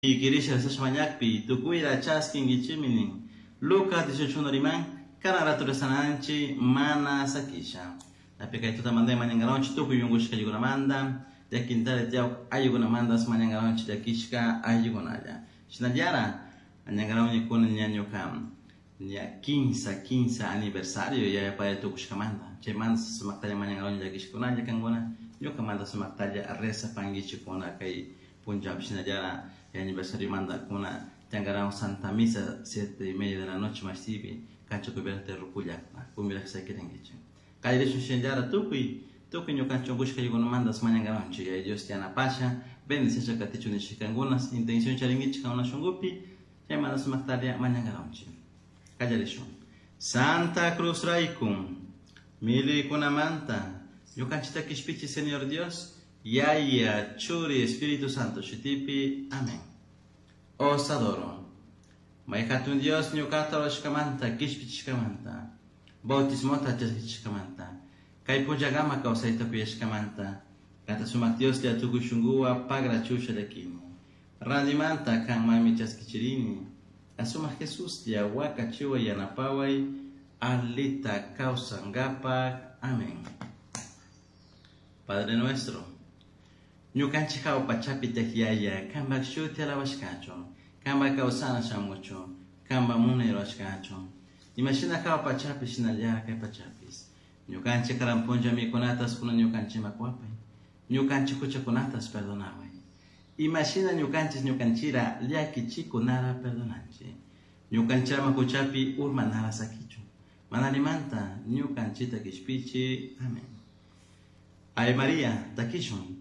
Quirisha mañakpi tukuyra chaskinkichikmi nin. Lucas 18 riman kana rato rezananchik mana sakisha. Napi kay tutamanta mañankaronchik tukuy unkushka ayllukunamanta, llakintari tiyawk ayllukunamantas mañankaronchik llakishka ayllukunalla. Shinallara mañankaronchik kunan ña ñuka ña kinsa aniversario yaya padre tukushkamanta. Chaymanta sumaktalla mañankaronchik llakishkakunalla kankuna ñukamanta sumaktalla rezapankichikkuna kay punllapi shinallara aniversario manda kuna tiyankaron Santa Misa 7:30 de la noche mashtipi cancha cubierta de Rucullacta kumbiraj sakirinkichik. Kallarishun shinallara tukuy tukuy ñukanchik unkushka ayllukunamantas mañankaronchik Yaya Dios yanapasha bendiciasha katichun nishkankunas intención charinkichik kankuna shunkupi chaymanta sumaktalla mañankaronchik. Kallarishun. Santa Cruz rayku millaykunamanta ñukanchikta kishpichi Señor Dios Yaya Churi Espíritu Santo shutipi. Amén. Os adoro. May hatun Dios ñuqata rurashkamanta kishpichishkamanta bautismota chaskichishkamanta kay punllakama kawsayta kuyashkamanta kanta sumak Dioslla tukuy shunkuwan pagrachusha llakini randimanta kanmanmi chaskichirini asumak Jesuslla wakachiway yanapaway alita kawsankapak. Amén. Padre nuestro, ñukanchik hawa pachapi tiyak Yaya, kanpak shuti alabashkachun, kanpak kawsana shamuchun, kanpak munay rurashkachun. Imashina hawa pachapi shinallara kay pachapis. Ñukanchik karan punlla mikunatas kunan ñukanchikman kuwapay. Ñukanchik huchakunatas perdonaway. Imashina ñukanchik ñukanchira llakichikunara perdonanchik. Ñukanchama huchapi urmanara sakichun. Manalimanta ñukanchita kishpichi. Amén. Ave María, takishun.